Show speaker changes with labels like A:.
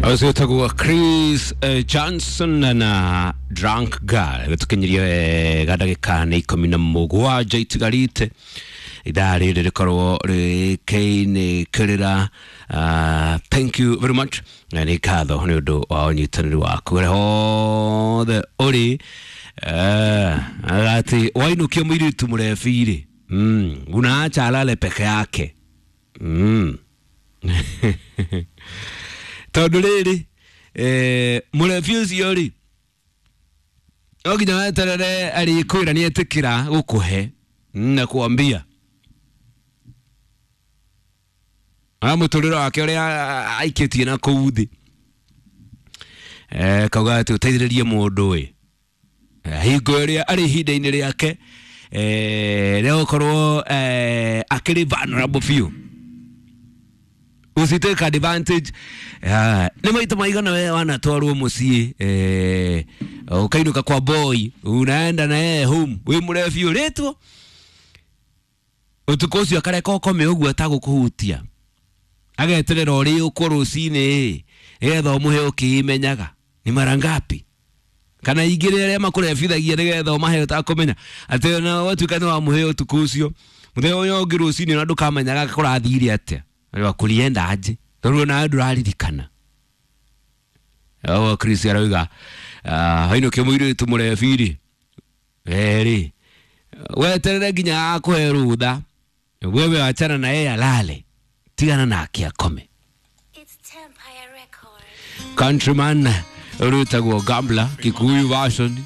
A: Ũcio wĩtagwo Chris Johnson na Drunk Girl gĩtũkinyirie wega ndagĩka nĩ 17 itigarite ithaa rĩrĩ rĩkorwo rĩkĩinĩkĩrĩra. Thank you very much na nĩ ngatho nĩ ũndũ wa ũnyitanĩri waku ũrĩa hothe ũrĩ atĩ wainũkia mũirĩtu mũrebi-rĩ, unaacha alale peke yake. Tondũ rĩrĩ mũrebi ũcio rĩ no nginya weterere arĩkwĩra nĩ etĩkĩra gũkũhe na kuambia a mũtũrĩre wake ũrĩa aikĩtie na kũu thĩ kauga atĩ ũteithĩrĩrie mũndũ ĩ hingo ĩrĩa arĩ ihinda-inĩ rĩake rĩa gũkorwo akĩrĩ vulnerable biũ, usitake advantage. Nĩ maita maigana we wanatwarwo mũciĩ ũkainũka kwa boy, unaenda na yeye home wĩ mũrebi ũrĩtwo ũtukũ ũcio akareka ũkome ũguo atagũkũhutia, ageterera ũrĩ ũkwo rũcinĩ nĩgetha ũmũhe ũkĩmenyaga nĩ mara ngapi kana ingĩ rĩrĩa makũrebithagia nĩgetha ũmahe ũtakũmenya atĩ ona watuĩka nĩ wamũhe ũtukũ ũcio, mũthenya ũyũ ũngĩ rũcinĩ ona ndũkamenyaga kũrathire atĩa wa kulienda aje tondũ onawe ndũraririkana. Ũguo Chris arauga hainũkia mũirĩtu mũrebi-rĩ erĩ weterere nginya akũhe rũtha, wewe achana na yeye alale, tigana nake akome.
B: It's Tempire Records.
A: Countryman rwĩtagwo Gambler Kikuyu version.